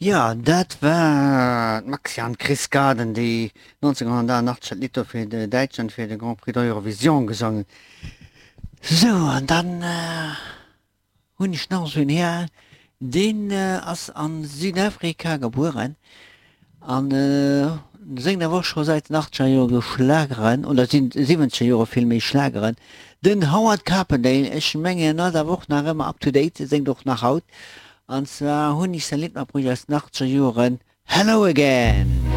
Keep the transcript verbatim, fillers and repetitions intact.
Jo, dat war d'Maxi an d'Chris Garden, déi nonzénghonnertachtundachtzeg dat Lidd do fir Däitschland fir de Grand Prix d'Eurovision gesongen. Sou, an dann hunn ech nach esou en Här, deen ass a Südafrika gebueren an séngt awer och scho säit den achtzeger Jore Schlageren, oder siwwenzeger Jore villméi Schlageren, den Howard Carpendale. Ech mengen en ass awer och nach ëmmer up to date, séngt och nach haut. An zwar hunn ech säi Lidd matbruecht aus den achtzeger Joren, Hello Again.